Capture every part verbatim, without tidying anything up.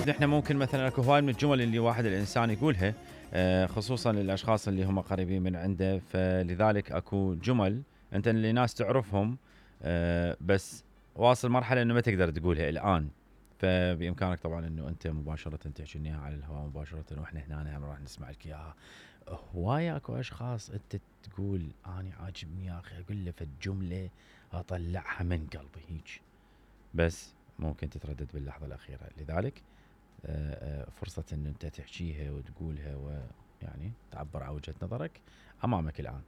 نحن ممكن مثلا اكو هواي من الجمل اللي واحد الانسان يقولها خصوصا للاشخاص اللي هم قريبين من عنده، فلذلك اكو جمل انت اللي ناس تعرفهم بس واصل مرحله انه ما تقدر تقولها الان، فبامكانك طبعا انه انت مباشره تحكي اياها على الهواء مباشره واحنا هنا هم راح نسمع لك اياها. هوايه اكو اشخاص انت تقول اني عاجبني يا اخي اقول له فالجمله اطلعها من قلبي هيك، بس ممكن تتردد باللحظه الاخيره، لذلك فرصه ان انت تحكيها وتقولها ويعني تعبر عن وجهه نظرك امامك الان،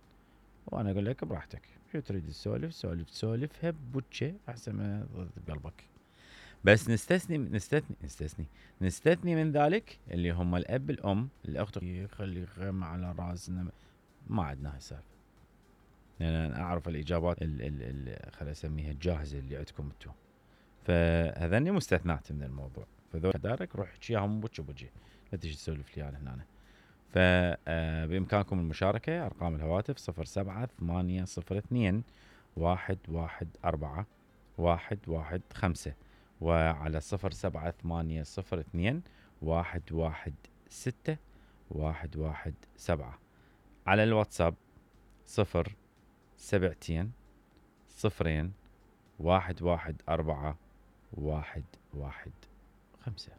وانا اقول لك براحتك شو تريد تسولف سولف سولفها بوجه احسن ما بقلبك. بس نستثني نستثني نستثني نستثني من ذلك اللي هم الاب الام الاخت يخلي غم على راسنا، ما عندنا هالسالفه، لان انا اعرف الاجابات خلينا نسميها الجاهزه اللي عندكم انتم، فهذني مستثنات من الموضوع، فذول دارك روح احكيهم بوجه بوجه لا تجي تسولف لي انا هنا. فبامكانكم المشاركه، ارقام الهواتف صفر سبعة ثمانية صفر اثنين واحد واحد أربعة واحد واحد خمسة، وعلى صفر سبعة ثمانية صفر اثنين واحد واحد ستة واحد واحد سبعة، على الواتساب صفر سبعتين صفرين واحد واحد أربعة واحد واحد خمسة.